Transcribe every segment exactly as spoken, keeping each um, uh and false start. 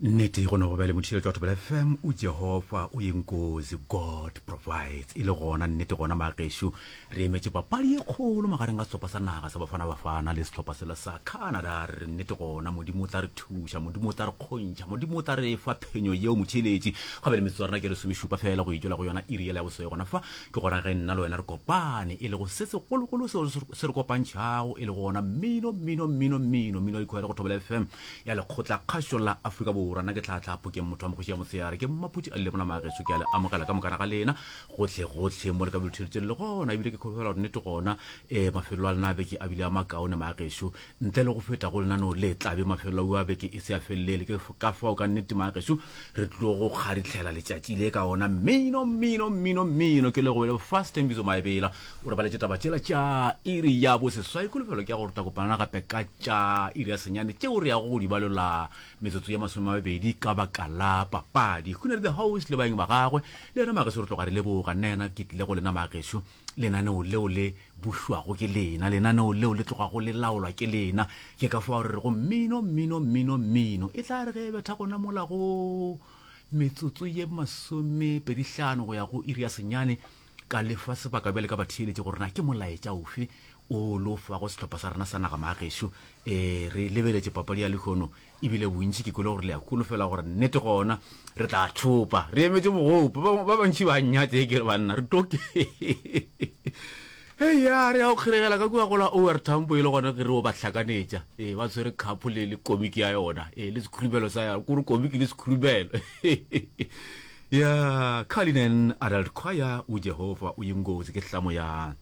Nnete go no go bjale motšhireletši wa Thobela F M o Jehofa o yenkozi, God provides. E le gona nnete gona magešo re emetše papadi ye kgolo magareng ga sehlopha sa naga sa Bafana Bafana le sehlopha sela sa Canada. Re re nnete gona Modimo o tla re thuša, Modimo o tla re kgontšha, Modimo o tla re fa phenyo yeo motšhireletši. Ga bjale metsotso ya rena ke lesomešupa fela go itšwela go yona iri yela ya boseswai gona fa ke gona ge nna le wena re kopane e lego se segologolo seo se re kopantšhago e lego gona mmino mmino mmino mmino mmino wa dikhwaere go Thobela F M ya Lekgotlakgašo la Afrika Borwa. Nna ke Tlhaatlhaa Phokeng, motho wa Mokgoši ya Motshehare. Ke Mmaphuti a Lelebona Mageso. Ke a le amogela ka mokana ga lena gohle-gohle mo le ka belo le gona. Ebile ke kholofela gore nnete gona um mafelelo a lena a beke a bile a makaone Mageso. Ntle le go feta go lenaneo le tlabe mafelelo a beke e se a felelele. Ke ka fao ka nnete Mageso re tlo go kgaritlhela letšatši le ka ona mmino mmino mmino mmino. Ke le go bele Fast Mbizo Maebela o re baletše taba tšela tša iri ya boseswai. Kholofelo ke ya gore re tla kopana gape ka tša iri ya senyane tšeo re yago go di balola metsotso ya masome a mabedi ka baka la papadi. Hunadi the host le baeng ba gagwe le yena Mageso re tloga re leboga. Nna yena ke tlile go lena Mageso, lenaneo leo le bušwago ke lena, lenaneo leo le tlogago le laolwa ke lena. Ke ka fao re rego mmino mmino mmino mmino e tla re ge e betha gona mola go metsotso ye masomepedi hlano go ya go iri ya senyane ka lefa sebaka bjale ka batheeletši gore na ke molaetša ofe o lo fago sehlopha sa rena sa naga Magešo. um re lebeletše papadi ya lehono ebile bontši ke kwele gore le a kholofela gore nnete gona re tla thopa. Re emetše mogopo, ba ba bantši ba nnyatse e ke re banna re toke ya re ya go kgeregela ka kua gola O R Tambo e le gona ke re o ba hlakanetša. Ee, ba tshwere cup le le komiki ya yona, ee, le sekhurumelo sa yona, kore komiki le sekhurumelo ya Cullinan Adult Choir. O Jehova o yingozi ke hlamo ya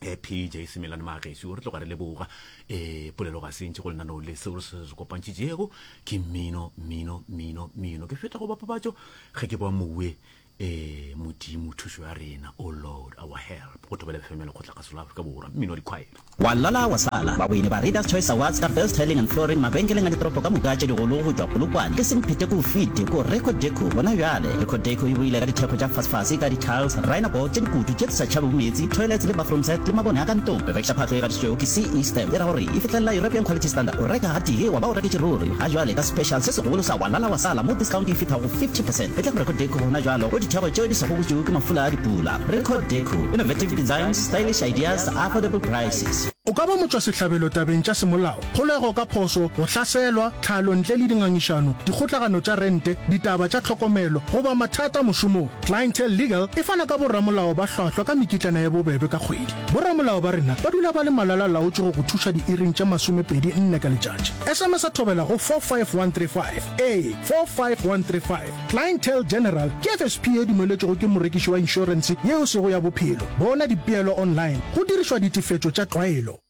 eh, P J Semelane Magesu. Re tloga re leboga um polelo ga sentše go lenaneo le seo se se kopantšhitšego ke mmino mmino mmino mmino. Ke feta go bapabatšo ge ke boa mowe um Modimo thušo ya rena, O Lord our help, go Thobela F M ya Lekgotlakgaso la Afrika Borwa, mmino wa dikhwaere. Wa lala wa sala. Bawini ba Readers Choice Awards ka Best Tiling and Flooring mabenkeleng a ditoropo ka moka tše digolo go tšwa Polokwane ke Semphete ko fete ko Record Deco gona bjale. Record Deco e boile ka dithekgo tša fasefase ka di-tiles, rhino board tše dikutu tše di sa tšhabego meetse, toilets le bathroom set le mabone a ka ntlong. Rekiša phahlo e gatišitšwego ke C E Stamp e ra gore e fihlelela European Quality Standard. O reka gatee wa ba o reketše ruri. Ga jwale ka special se segolo sa wa lala wa sala mo discount e fihlago fifty percent. Etla go Record Deco gona bjalo go dithekgo tšeo di sa gobotšwego ke mafula a dipula. Record Deco, innovative designs, stylish ideas, affordable prices. O ka ba motšwasehlabelo tabeng tša semolao, kgolego ka phošo, go hlaselwa, tlhalo ntle le dingangišano, dikgotlagano tša rente, ditaba tša tlhokomelo, goba mathata mošomong. Clientele Legal e fana ka boramolao ba hlwahlwa ka mekitlana ya bobebe ka kgwedi. Boramolao ba rena ba dula ba le malala-laotšwe go go thuša diiring tše masomepedi nne ka letšatši. S M S Thobela go four five one three five. Ee, four five one three five. Clientele General ke F S P ye dumeletšwego ke morekiši wa inšorense yeo sego ya bophelo. Bona dipeelo online go dirišwa ditefetšo tša tlwaelo.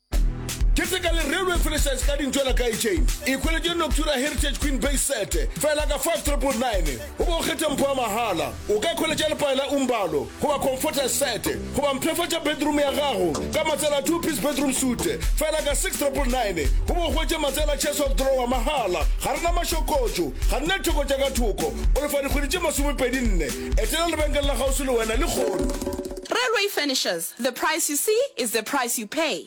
Keteka le Railway Furnitures ka dintšwela ka chain. Ikhweletše Noctura Heritage Queen Base Set fela ka five triple nine goba o kgethe mpho ya mahala. O ka ikhweletša lepae la Umbalo goba Comforter Set goba mpshafatša bedroom ya gago ka matsela two piece bedroom suite fela ka six triple nine goba o hwetše matsela chest of drawer mahala. Ga re na mašokotšo, ga re na ditheko tša ka thoko. O lefa dikgwedi tše masomepedi nne. Etela lebenkele la kgauswi le wena lehono. Railway Furnishers, the price you see is the price you pay.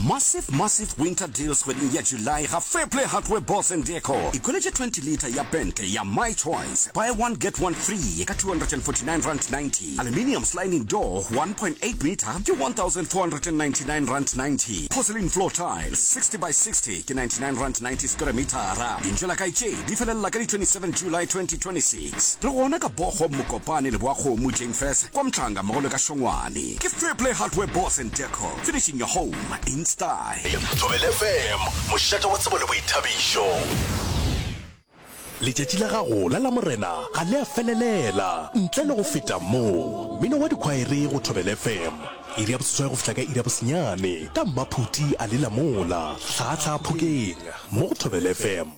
Massive massive winter deals kgweding ya July ga Fairplay Hardware Boss and Decor. Ikhweletše twenty litre ya pente ya My Choice, buy one get one free ka two hundred and forty nine rand ninety. Aluminium sliding door one point eight metre ke one thousand four hundred and ninety nine rand ninety. Porcelain floor tiles sixty by sixty ke ninety nine rand ninety square metara. Dintšo la kae tše di felelela ka di twenty seven July twenty twenty six. Re gona ka Bogo, Mokopane, Leboakgomo, Jane Furse, kwa Mhlanga mmogo le ka Šongwane. Ke Fairplay Hardware Boss and Decor, finishing your home in style. Thobela F M, mošate wa tsebo le boithabišo. Letšatši la gago la Lamorena ga le a felelela ntle le go feta mo. Mmino wa dikhwaere go Thobela F M, iri ya boseswai go fihla ka iri ya bosenyane, ka Mmaphuti a Lela Mola, Hlaahlaa Phokeng, mo go Thobela F M.